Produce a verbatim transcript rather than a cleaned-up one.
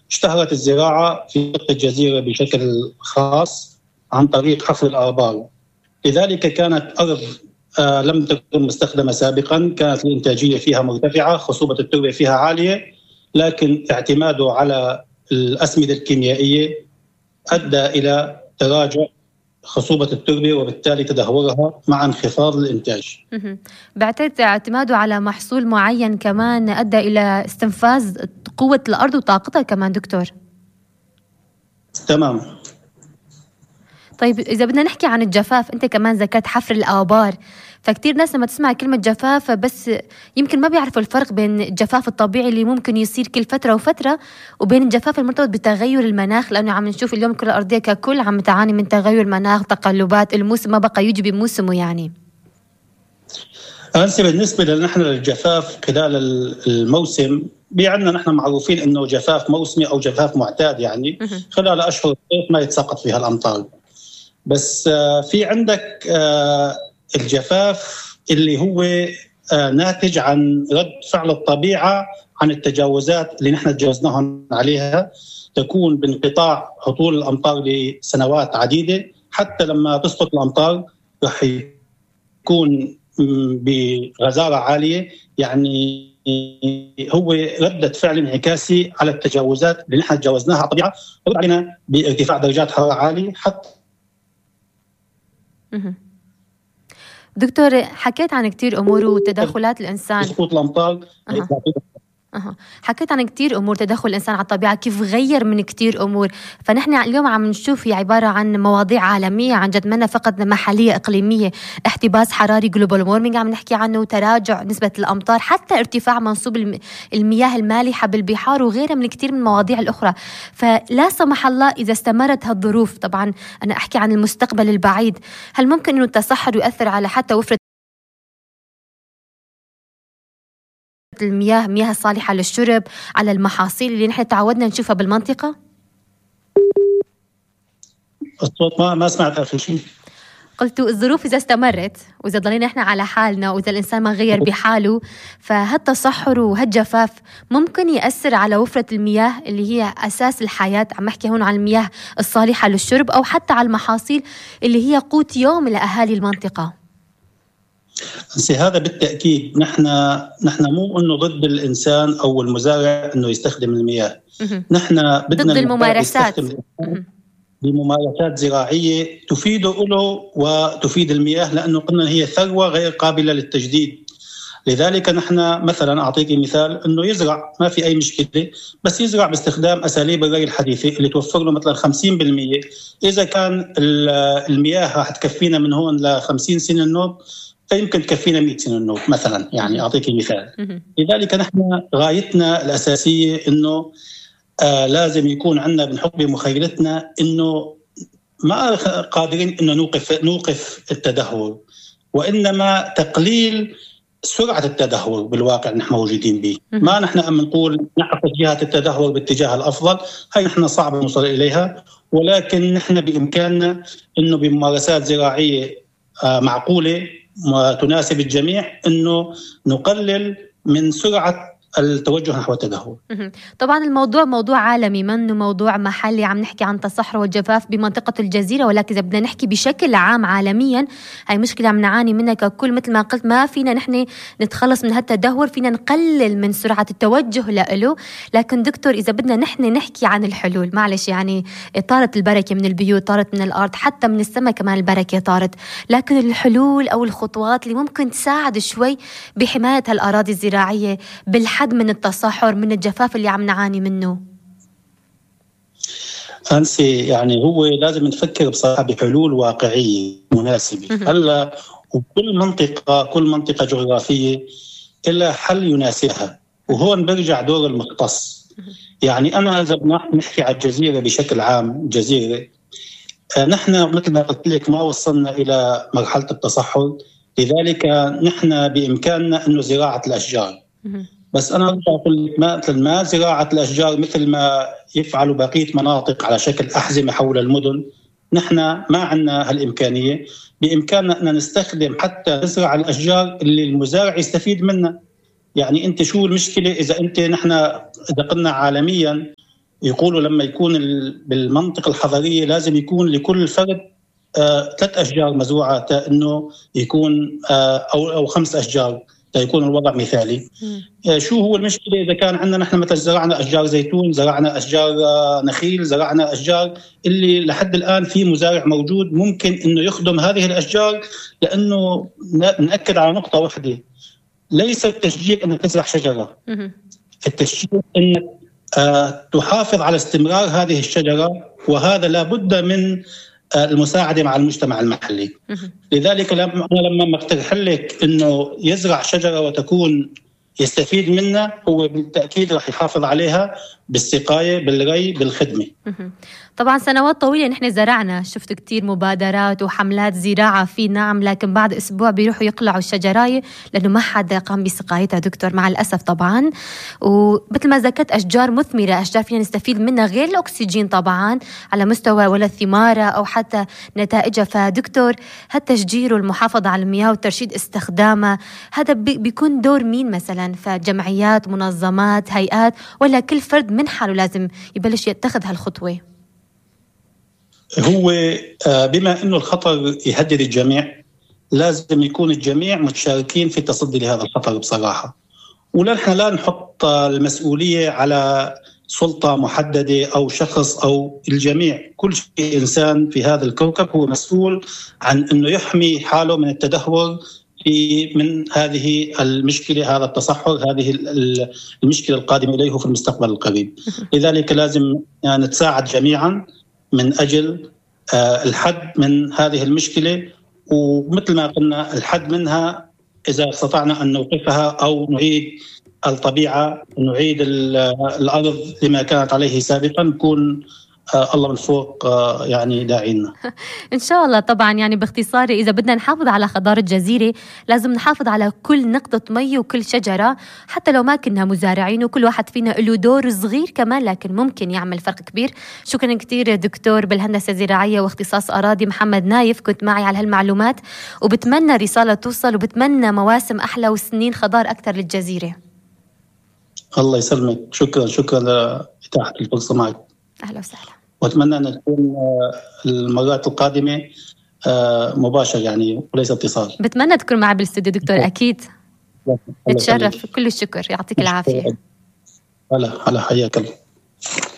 اشتهرت الزراعة في منطقة الجزيرة بشكل خاص عن طريق حفر الآبار. لذلك كانت أرض آه لم تكن مستخدمة سابقا، كانت الإنتاجية فيها مرتفعة، خصوبة التربة فيها عالية، لكن اعتماده على الأسمدة الكيميائية أدى إلى تراجع خصوبة التربة وبالتالي تدهورها مع انخفاض الإنتاج. بعتقد اعتماده على محصول معين كمان أدى إلى استنفاذ قوة الأرض وطاقتها كمان دكتور. تمام. طيب إذا بدنا نحكي عن الجفاف، أنت كمان ذكرت حفر الآبار، فكتير ناس لما تسمع كلمة جفاف بس يمكن ما بيعرفوا الفرق بين الجفاف الطبيعي اللي ممكن يصير كل فترة وفترة وبين الجفاف المرتبط بتغير المناخ، لأنه عم نشوف اليوم الكرة الأرضية ككل عم تعاني من تغير المناخ، تقلبات الموسم ما بقى يجي بموسمه. يعني أنسي بالنسبة لنحن للجفاف خلال الموسم بيعنا نحن معروفين إنه جفاف موسمي أو جفاف معتاد، يعني خلال أشهر الصيف ما يتساقط فيها الأمطار. بس في عندك الجفاف اللي هو ناتج عن رد فعل الطبيعة عن التجاوزات اللي نحن تجاوزناها عليها، تكون بانقطاع هطول الأمطار لسنوات عديدة، حتى لما تسقط الأمطار رح يكون بغزارة عالية، يعني هو ردة فعل انعكاسي على التجاوزات اللي نحن تجاوزناها على الطبيعة، رد علينا بارتفاع درجات حرارة عالية. حتى دكتور حكيت عن كتير أمور وتدخلات الإنسان، سقوط الأمطار. أه. أه. حكيت عن كتير أمور تدخل الإنسان على الطبيعة، كيف غير من كتير أمور. فنحن اليوم عم نشوف هي عبارة عن مواضيع عالمية عن جد، منا فقط محلية إقليمية. احتباس حراري جلوبال وورمينج عم نحكي عنه، تراجع نسبة الأمطار، حتى ارتفاع منسوب المياه المالحة بالبحار وغيرها من كتير من المواضيع الأخرى. فلا سمح الله إذا استمرت هالظروف، طبعا أنا أحكي عن المستقبل البعيد، هل ممكن أنه التصحر يؤثر على حتى وفرة المياه مياه الصالحة للشرب، على المحاصيل اللي نحن تعودنا نشوفها بالمنطقة؟ الصوت ما ما سمعت آخر شيء. قلت الظروف إذا استمرت وإذا ضلينا إحنا على حالنا وإذا الإنسان ما غير بحاله، فهالتصحر وهالجفاف ممكن يأثر على وفرة المياه اللي هي أساس الحياة. عم أحكي هون عن المياه الصالحة للشرب أو حتى على المحاصيل اللي هي قوت يوم لأهالي المنطقة. هذا بالتأكيد نحن نحن مو إنه ضد الإنسان أو المزارع إنه يستخدم المياه، نحن بدنا ضد الممارسات بممارسات زراعية تفيده له وتفيد المياه، لأنه قلنا هي ثروة غير قابلة للتجديد. لذلك نحن مثلا أعطيك مثال إنه يزرع ما في أي مشكلة، بس يزرع باستخدام أساليب الري الحديثة اللي توفر له مثلا خمسين بالمية. إذا كان المياه راح تكفينا من هون لخمسين سنة النوب، فيمكن تكفينا مئة سنة النوب مثلا، يعني أعطيك مثال. لذلك نحن غايتنا الأساسية إنه آه لازم يكون عندنا بنحط بمخيلتنا إنه ما قادرين إنه نوقف نوقف التدهور، وإنما تقليل سرعة التدهور بالواقع نحن موجودين به. ما نحن أم نقول نحفظ جهة التدهور باتجاه الأفضل، هاي نحن صعب نوصل إليها، ولكن نحن بإمكاننا إنه بممارسات زراعية آه معقولة وتناسب الجميع إنه نقلل من سرعة التوجه نحو التدهور. طبعا الموضوع موضوع عالمي، منه موضوع محلي. عم نحكي عن التصحر والجفاف بمنطقة الجزيرة، ولكن إذا بدنا نحكي بشكل عام عالميا، هاي مشكلة عم نعاني منها ككل. مثل ما قلت ما فينا نحن نتخلص من هالتدهور، فينا نقلل من سرعة التوجه له. لكن دكتور إذا بدنا نحن نحكي عن الحلول، معلش يعني طارت البركة من البيوت، طارت من الأرض، حتى من السماء كمان البركة طارت، لكن الحلول أو الخطوات اللي ممكن تساعد شوي بحماية هالأراضي الزراعية بالحد من التصحر من الجفاف اللي عم نعاني منه. أنسي يعني هو لازم نفكر بصراحة بحلول واقعية مناسبة. هلا وكل منطقة كل منطقة جغرافية إلا حل يناسبها، وهون برجع دور المختص. يعني أنا إذا بنحكي على الجزيرة بشكل عام، جزيرة نحن مثل ما قلت لك ما وصلنا إلى مرحلة التصحر، لذلك نحن بإمكاننا إنه زراعة الأشجار. بس أنا أقول لك ما مثل ما زراعة الأشجار مثل ما يفعلوا بقية مناطق على شكل أحزمة حول المدن، نحن ما عندنا هالإمكانية. بإمكاننا أن نستخدم حتى نزرع الأشجار اللي المزارع يستفيد منها. يعني أنت شو المشكلة إذا أنت نحن إذا قلنا عالميا يقولوا لما يكون بالمنطقة الحضرية لازم يكون لكل فرد آه ثلاث أشجار مزروعة تا إنه يكون آه أو أو خمس أشجار تا يكون الوضع مثالي. آه شو هو المشكلة إذا كان عندنا نحن مثلا زرعنا أشجار زيتون، زرعنا أشجار آه نخيل، زرعنا أشجار اللي لحد الآن في مزارع موجود ممكن إنه يخدم هذه الأشجار، لأنه نأكد على نقطة واحدة، ليس التشجيع أنك تزرع شجرة، التشجيع أنك آه تحافظ على استمرار هذه الشجرة، وهذا لابد من آه المساعدة مع المجتمع المحلي. لذلك لما لما اقترح لك أنه يزرع شجرة وتكون يستفيد منها، هو بالتأكيد رح يحافظ عليها بالسقاية، بالري، بالخدمة. طبعا سنوات طويلة نحن زرعنا، شفت كتير مبادرات وحملات زراعة في نعم، لكن بعد أسبوع بيروحوا يقلعوا الشجراية لأنه ما حدا قام بسقايتها دكتور، مع الأسف طبعا. ومثل ما ذكرت أشجار مثمرة، أشجار فينا نستفيد منها غير الأكسجين طبعا على مستوى ولا الثمارة أو حتى نتائجها. فدكتور هالتشجير والمحافظة على المياه وترشيد استخدامها، هذا بيكون دور مين مثلا؟ فجمعيات، منظمات، هيئات، ولا كل فرد من حاله لازم يبلش يتخذ هالخطوة؟ هو بما أنه الخطر يهدد الجميع لازم يكون الجميع متشاركين في التصدي لهذا الخطر بصراحة، ولا نحن لا نحط المسؤولية على سلطة محددة أو شخص أو الجميع. كل إنسان في هذا الكوكب هو مسؤول عن أنه يحمي حاله من التدهور في من هذه المشكلة، هذا التصحر، هذه المشكلة القادمة إليه في المستقبل القريب. لذلك لازم يعني نتساعد جميعا من أجل الحد من هذه المشكلة، ومثل ما قلنا الحد منها إذا استطعنا أن نوقفها أو نعيد الطبيعة، نعيد الأرض لما كانت عليه سابقا، نكون الله من فوق يعني داعينا إن شاء الله. طبعا يعني باختصار، إذا بدنا نحافظ على خضار الجزيرة لازم نحافظ على كل نقطة مي وكل شجرة، حتى لو ما كنا مزارعين، وكل واحد فينا له دور صغير كمان لكن ممكن يعمل فرق كبير. شكرا كتير دكتور بالهندسة الزراعية واختصاص أراضي محمد نايف، كنت معي على هالمعلومات، وبتمنى رسالة توصل، وبتمنى مواسم أحلى وسنين خضار أكثر للجزيرة. الله يسلمك، شكرا شكرا لإتاحة الفرصة معك. أهلا وسهلا، وأتمنى أن تكون المرات القادمة مباشر يعني وليس اتصال. بتمنى تكون معي بالاستوديو دكتور، أكيد نتشرف. كل الشكر، يعطيك العافية. هلا هلا، حياك الله.